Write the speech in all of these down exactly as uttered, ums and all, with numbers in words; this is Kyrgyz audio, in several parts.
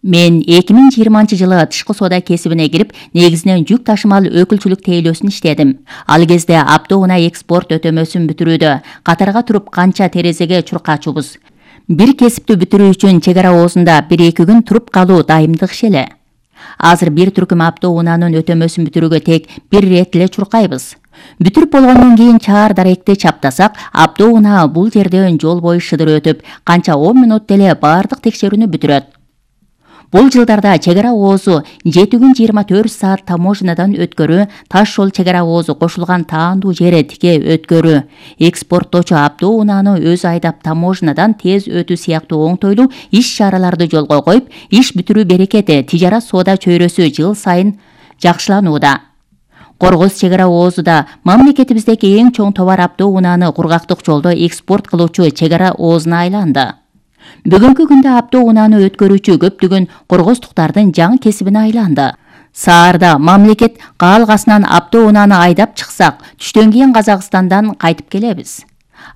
Мен эки миң жыйырманчы жылы тышкы соода кесибине кирип, негизинен жүк ташымал өкүлчүлүк тейлөөсүн иштедим. Ал кезде автоунаа экспорт өтөмөсүн бүтүрүүдө катарга туруп канча терезеге чуркачубуз. Бир кесипти бүтүрүү үчүн чек ара оозунда бир эки күн туруп калуу дайымдык иш эле. Азыр бир түркүм автоунаанын өтөмөсүн бүтүрүүгө тек бир ирет эле чуркайбыз. Бүтүрүп болгондон кийин чаар даректи чаптасак, автоунаа бул жерден жол бою шыдыр өтүп, канча он мүнөттө эле баардык текшерүүнү бүтүрөт. Бул жылдарда чек ара оозу жети күн жыйырма төрт саат таможнядан өткөрүү, таш жол чек ара оозу кошулган таандуу жере тике өткөрүү, экспорттоочу автоунааны өзү айдап таможнядан тез өтүү сыяктуу оңтойлуу иш-чараларды жолго коюп, иш бүтүрүү берекети тижарат соода чөйрөсү жыл сайын жакшыланууда. Коргоз чек ара оозу да мамлекетибиздеги эң чоң товар автоунааны кургактык жолдо экспорт кылуучу чек ара оозуна айланды. Бүгүнкү күндө автоунааны өткөрүүчү көптөгөн коргоздуктардын жаңы кесибине айланды. Саарда мамлекет каалгасынан автоунааны айдап чыксак, түштөн кийин Казакстандан кайтып келебиз.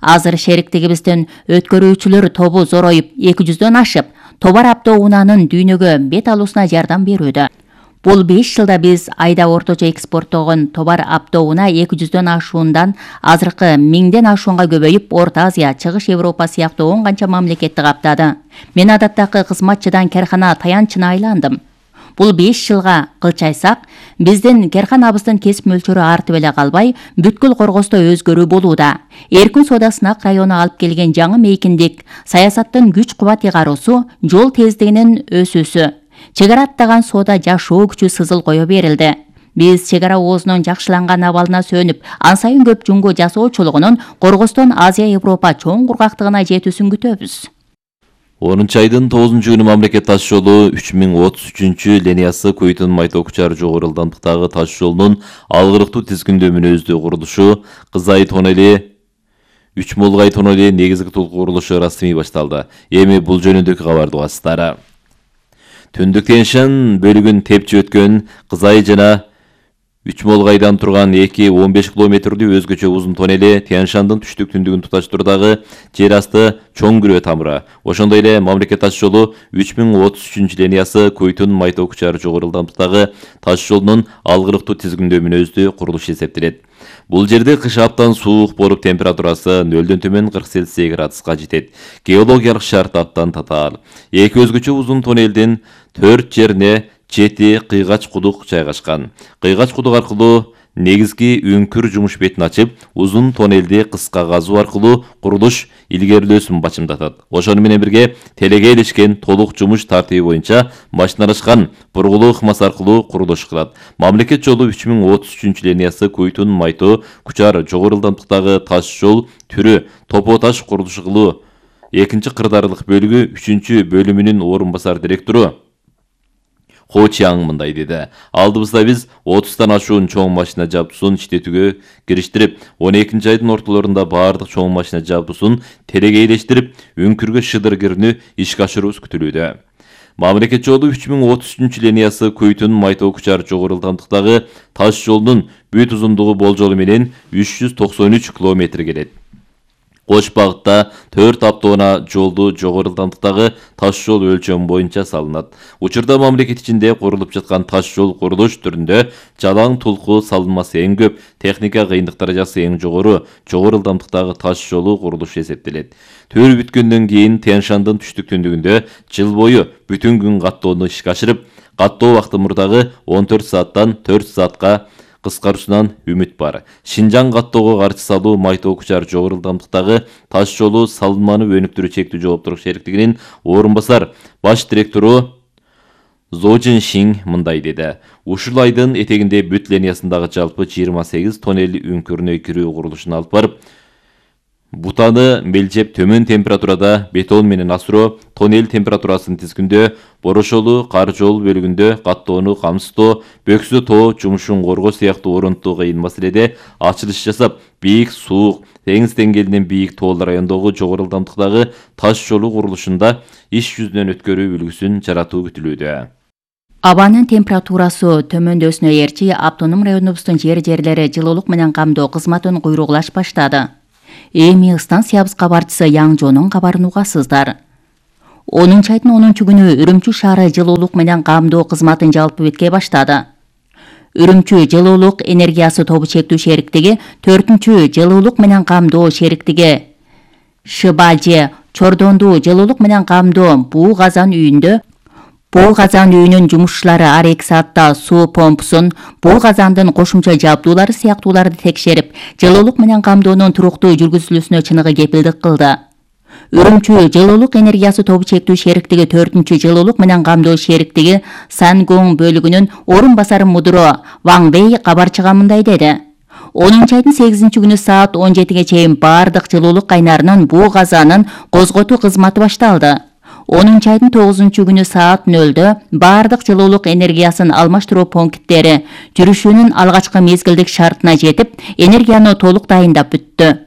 Азыр шериктигибиздин өткөрүүчүлөр тобу зороюп, эки жүздөн ашып, товар автоунаанын дүйнөгө бет алуусуна жардам берүүдө. Бул беш жылда биз айда орточо экспорттогон товар автоунаа эки жүздөн ашуундан азыркы миңден ашуунга көбөйүп, Орто Азия, Чыгыш Европа сыяктуу он канча мамлекетти каптады. Мен адаттагы кызматчыдан керкана таянчына айландым. Бул беш жылга кылчайсак, биздин керканабыздын кесип мөлчөрү артып эле калбай, бүткүл Коргоздо өзгөрүү болууда. Эркин соода сынак району алып келген жаңы мейкиндик, саясаттын күч-кубат ыйгаруусу, жол тездигинин өсүүсү, чек ара аттаган соода жашоо күчү сызыл кое берилди. Биз чек ара оозунун жакшыланган абалына сөнүп, ан сайын көп жумго жасоочулугунун Коргоздон Азия Европа чоң кургактыгына жетүүсүн күтөбүз. онунчу айдын тогузунчу күнү мамлекет таш жолу үч миң отуз үчүнчү линиясы Куйтун Майто Кучар жогору ылдамдыктагы таш жолунун алгырыктуу тизгиндөө мүнөздүү курулушу Кызай тоннели Үч Молгай тоннели негизги толук курулушу расмий башталды. Эми бул жөнүндөгү кабарды угасыздар. Түндүк Тянь-Шань бөлүгүн тепчи өткөн Кызай жана Үч Молгайдан турган эки он беш километрлүү өзгөчө узун тоннели Тянь-Шаньдын түштүк түндүгүн туташтыруудагы жер асты чоң күрөө тамыры. Ошондой эле мамлекет таш жолу үч миң отуз үчүнчү линиясы Куйтун Майто Кучар жогору ылдамдыктагы таш жолунун алгырыктуу тизгиндөө мүнөздүү курулушу эсептелет. Бул жерде кыш аптан суук болуп, температурасы нөлдөн төмөн кырк Цельсий градуска жетет. Геологиялык шарт абдан татаал. Эки өзгөчө узун тоннелдин төрт жерине жети кыйгач кудук жайгашкан. Кыйгач кудук аркылуу негизги үңкүр жумуш бетин ачып, узун тоннелди кыска казуу аркылуу курулуш илгерилөөсүн бачымдатат. Ошону менен бирге телеге илишкен толук жумуш тартиби боюнча машиналашкан бургулуу ыкмасы аркылуу курулуш кылат. Мамлекет жолу үч миң отуз үчүнчү линиясы Куйтун Майто Кучар жогору ылдамдыктагы таш жол түрү топо таш курулушу кылуу экинчи кырдаарлык бөлүгү үчүнчү бөлүмүнүн орун басар директору Хо Чиаң мындай деди. Алдыбызда биз отуздан ашуун чоң машина жабдуусун иштетүүгө кириштирип, он экинчи айдын ортолорунда баардык чоң машина жабдуусун телеге илештирип, үңкүргө шыдыр кирүүнү ишке ашыруубуз күтүлүүдө. Мамлекет жолу үч миң отуз үчүнчү линиясы Куйтун Майто Кучар жогору ылдамдыктагы таш жолунун бүт узундугу болжолу менен үч жүз токсон үч километр келет. Кош багытта төрт автоунаа жолду жогору ылдамдыктагы таш жол өлчөмү боюнча салынат. Учурда мамлекет ичинде курулуп жаткан таш жол курулуш түрүндө жалаң тулку салынмасы эң көп, техника кыйындык даражасы эң жогору жогору ылдамдыктагы таш жолу курулушу эсептелет. Төр бүткөндөн кийин Тянь-Шаньдын түштүк түндүгүндө жыл бою бүтүн күн каттоону ишке ашырып, каттоо убакыты мурдагы он төрт сааттан төрт саатка кыскаруусунан үмүт бар. Шинжаң каттоого каршы салуу Майто Кучар жогору ылдамдыктагы таш жолу салынманы өнүктүрүү чектүү жооптурук шериктигинин орун басар баш директору Зожин Шинг мындай деди. Ушул айдын этегинде бүт линиясындагы жалпы жыйырма сегиз тоннели үңкүрүнө кирүү курулушун алып барып, бутаны мелжеп төмөн температурада бетон менен асыроо, тоннель температурасын тизгиндөө, борошолу кар жол бөлүгүндө каттоону камсыздоо, бөксө тоо жумушун коргоо сыяктуу орунтуу кыйын маселеде ачылыш жасап, бийик суук, теңиз деңгээлинен бийик тоолор райондогу жогору ылдамдыктагы таш жолу курулушунда иш жүзүнөн өткөрүү үлгүсүн жаратуу күтүлүүдө. Абанын температурасы төмөндөсүнө ээрчи автоном районубуздун жер-жерлери жылуулук менен камдоо кызматын куйругулаш баштады. Эми станциябыз кабарчысы Яң Жонун кабарын угасыздар. онунчу айдын онунчу күнү Үрүмчү шаары жылуулук менен камдоо кызматын жалпы бетке баштады. Үрүмчү жылуулук энергиясы тобу чектүү шериктиги, төртүнчү жылуулук менен камдоо шериктиги Шыбалже Чордонду жылуулук менен камдоо буу казан үйүндө бул казан үйүнүн жумушчулары ар эки саатта суу помпусун, бул казандын кошумча жабдуулары сыяктууларды текшерип, жылуулук менен камдоонун туруктуу жүргүзүлүүсүнө чыныгы кепилдик кылды. Үрүмчү жылуулук энергиясы тобу чектүү шериктиги төртүнчү жылуулук менен камдоо шериктиги Сангоң бөлүгүнүн орун басары мудуру Ваң Вэй кабарчыга мындай деди. онунчу айдын сегизинчи күнү саат он жетиге чейин баардык жылуулук кайнарынын буу казанын козготуу кызматы башталды. онунчу айдын тогузунчу күнү саат нөлдө баардык жылуулук энергиясын алмаштыруу пункттери жүрүшүүнүн алгачкы мезгилдик шартына жетип, энергияны толук дайындап бүттү.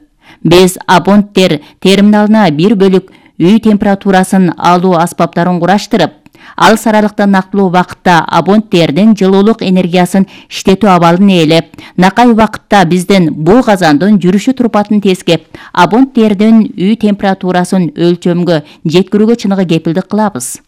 Биз абоненттер терминалына бир бөлүк үй температурасын алуу аспаптарын кураштырып, алыс аралыкта нактылуу убакытта абоненттердин жылуулук энергиясын иштетүү абалын ээлеп, накай убакытта биздин бул казандын жүрүшү турпатын тескеп, абоненттердин үй температурасын өлчөмгө жеткирүүгө чыныгы кепилдик кылабыз.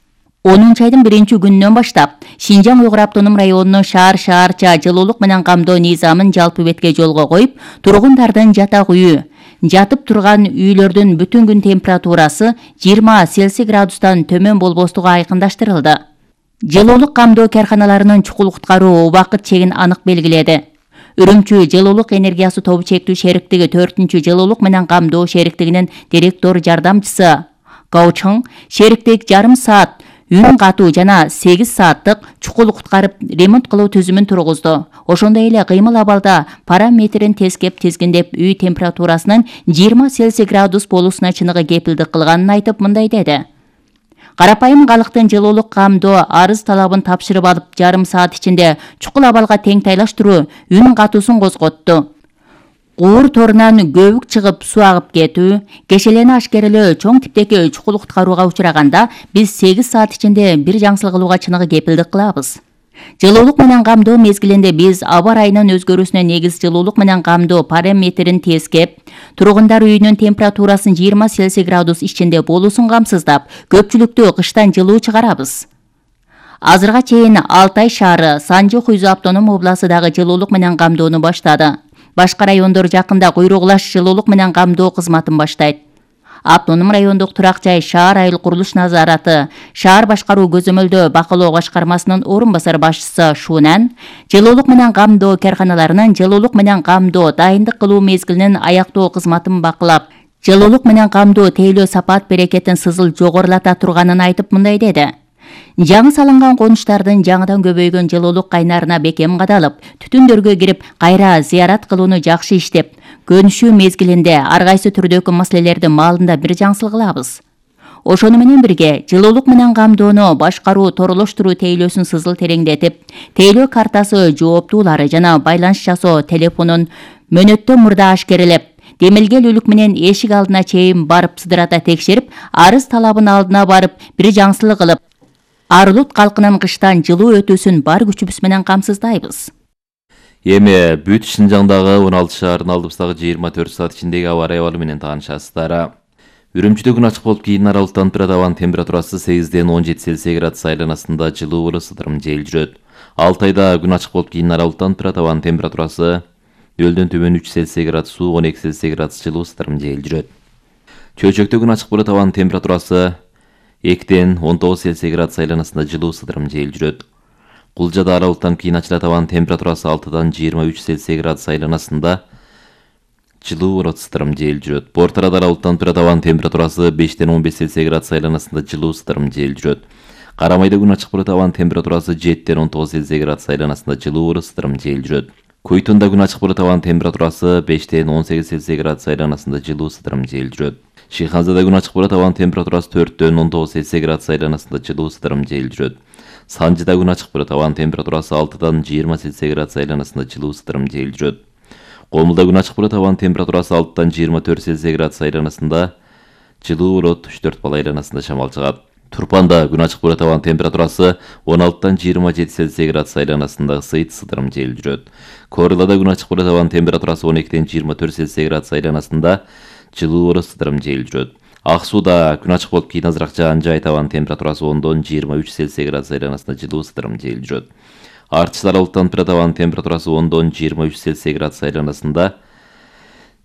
онунчу айдын биринчи күнүнөн баштап Шинжаң Уйгур автоном районунун шаар-шаарча жылуулук менен камдоо низамын жалпы бетке жолго коюп, тургундардын жатак үйү, жатып турган үйлөрдүн бүтүн күн температурасы жыйырма Цельсий градустан төмөн болбостугу айкындаштырылды. Жылуулук камдоо карканаларынын чукул куткаруу убакыт чегин анык белгиледи. Үрүмчү жылуулук энергиясы тобу чектүү шериктиги төртүнчү жылуулук менен камдоо шериктигинин директор жардамчысы Гаучың шериктик жарым саат үн катуу жана сегиз сааттык чукул куткарып ремонт кылуу түзүмүн тургузду. Ошондой эле кыймыл абалда параметрин тескеп тизгиндеп үй температурасынын жыйырма Цельсий градус болуусуна чыныгы кепилдик кылганын айтып мындай деди. Карапайым калктын жылуулук камдоо арыз талабын тапшырып алып, жарым саат ичинде чукул абалга тең тайлаштыруу үн катуусун козготту. Куур торунан көбүк чыгып суу агып кетүү, кешелени ашкерелөө чоң типтеги чукул куткарууга учураганда биз сегиз саат ичинде бир жаңсыл кылууга чыныгы кепилдик кылабыз. Жылуулук менен камдоо мезгилинде биз аба райынын өзгөрүүсүнө негиз жылуулук менен камдоо параметрин тескеп, тургундар үйүнүн температурасын жыйырма Цельсий градус ичинде болуусун камсыздап, көпчүлүктү кыштан жылуу чыгарабыз. Азырга чейин Алтай шаары, Санжы Хуйзу автоном областы дагы жылуулук менен камдоону баштады. Башка райондор жакында куйругулаш жылуулук менен камдоо кызматын баштайт. Автоном райондук турак жай шаар айыл курулуш назараты, шаар башкаруу көзөмөлдөө бакылоо башкармасынын орун басар башчысы Шунан жылуулук менен камдоо карканаларынын жылуулук менен камдоо дайындык кылуу мезгилинин аяктоо кызматын бакылап, жылуулук менен камдоо тейлөө сапат берекетин сызыл жогорулата турганын айтып мындай деди. Жаңы салынган конуштардын жаңыдан көбөйгөн жылуулук кайнарына бекем кадалып, түтүндөргө кирип, кайра зыярат кылууну жакшы иштеп, көнүшүү мезгилинде ар кайсы түрдөгү маселелерди маалында бир жаңсыл кылабыз. Ошону менен бирге жылуулук менен камдоону башкаруу торолоштуруу тейлөөсүн сызыл тереңдетип, тейлөө картасы жооптуулары жана байланыш жасоо телефонун мөөнөттөн мурда ашкерелеп, демилгел үлүк менен эшик алдына чейин барып сыдырата текшерип, арыз талабын алдына барып, бир жаңсыл кылып, Арлут калкынын кыштан жылуу өтүүсүн бар күчүбүз менен камсыздайбыз. Эми бүт Шинжаңдагы он алты шаардын алдыбыздагы жыйырма төрт саат ичиндеги аба ырайы менен таанышасыздар. Үрүмчүдө күн ачык болуп, кийин аралыктан тура абанын температурасы сегизден он жети Цельсий градус айланасында жылуу ысытырым жел жүрөт. Алтайда күн ачык болуп, кийин аралыктан тура абанын температурасы нөлдөн төмөн үч Цельсий градус, он эки Цельсий градус жылуу ысытырым жел жүрөт. Чөйчөктө күн ачык болот, абанын температурасы экиден он тогуз Цельсий градус айланасында жылуу ысытырым жел жүрөт. Кулжада аралыктан кийин ачылат, абанын температурасы алтыдан жыйырма үч Цельсий градус айланасында жылуу ысытырым жел жүрөт. Бортарада аралыктан турат, абанын температурасы бештен он беш Цельсий градус айланасында жылуу ысытырым жел жүрөт. Карамайда күн ачык болот, абанын температурасы жетиден он тогуз Цельсий градус айланасында жылуу ысытырым жел жүрөт. Койтунда күн ачык болот, абанын температурасы бештен он сегиз Цельсий градус айланасында жылуу ысытырым жел жүрөт. Шыйханзада күн ачык болот, абанын температурасы төрттөн он тогуз Цельсий градус айланасында жылуу ысытырым жел жүрөт. Санжыда күн ачык болот, абанын температурасы алтыдан жыйырма Цельсий градус айланасында жылуу ысытырым жел жүрөт. Комулда күн ачык болот, абанын температурасы алтыдан жыйырма төрт Цельсий градус айланасында жылуу болот, үч төрт балл айланасында шамал чыгат. Турпанда күн ачык болот, абанын температурасы он алтыдан жыйырма жети Цельсий градус айланасында ысыйт ысытырым жел жүрөт. Корылада күн ачык болот, абанын температурасы он экиден жыйырма төрт Цельсий градус айланасында жылуу ысытырым жел жүрөт. Ак сууда күн ачык болуп кийин азыраак жаан жай табанын температурасы ондон жыйырма үч Цельсий градус айланасында жылуу сыдырым жел жүрөт. Артыш аралыктан табанын температурасы ондон жыйырма үч Цельсий градус айланасында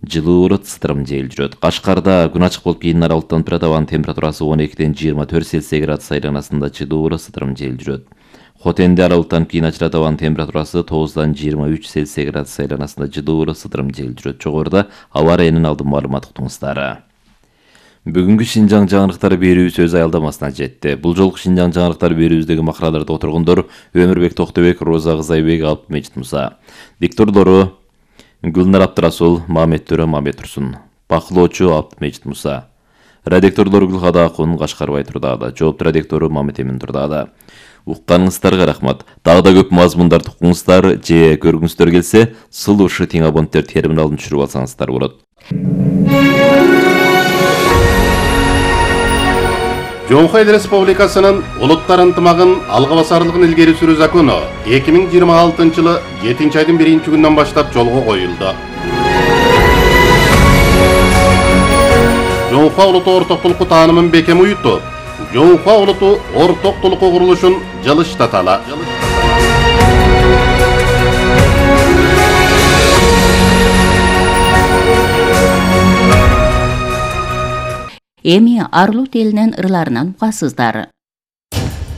жылуу сыдырым жел жүрөт. Кашкарда күн ачык болуп кийин аралыктан табанын температурасы он экиден жыйырма төрт Цельсий градус айланасында жылуу сыдырым жел жүрөт. Хотенде аралыктан кийин ачыра табанын температурасы тогуздан жыйырма үч Цельсий градус айланасында жылуу сыдырым жел жүрөт. Жогоруда аба ырайынын алдын маалымат уктуңуздар. Бүгүнкү Шинжаң жаңырыктары берүүбүз өз аялдамасына жетти. Бул жолку Шинжаң жаңырыктары берүүбүздөгү макалаларды отургондор Өмүрбек Токтобек, Роза Кызайбек, Алып Мечит Муса. Диктордору Гүлнар Абдрасул, Мамет Төрө, Мамет Турсун. Бакылоочу Алып Мечит Муса. Редактордор Гүлхада Акун, Кашкарбай Турдаада. Жоопту редактору Мамет Эмин Турдаада. Укканыңыздарга рахмат. Дагы да көп мазмундарды укуңуздар же көргүңүздөр келсе, сулушу тең абоненттер терминалын түшүрүп алсаңыздар болот. Жоңхо Эл Республикасынын улуттар ынтымагын алга басарлыгын илгери сүрүү закону эки миң жыйырма алтынчы жылы жетинчи айдын биринчи күнүнөн баштап жолго коюлду. Жоңхо улуту ортоктулукку таанымын бекем уютуп, Жоңхо улуту ортоктулукку курулушун жылыштаталы. Эми Арлут элинин ырларынан угасыздар.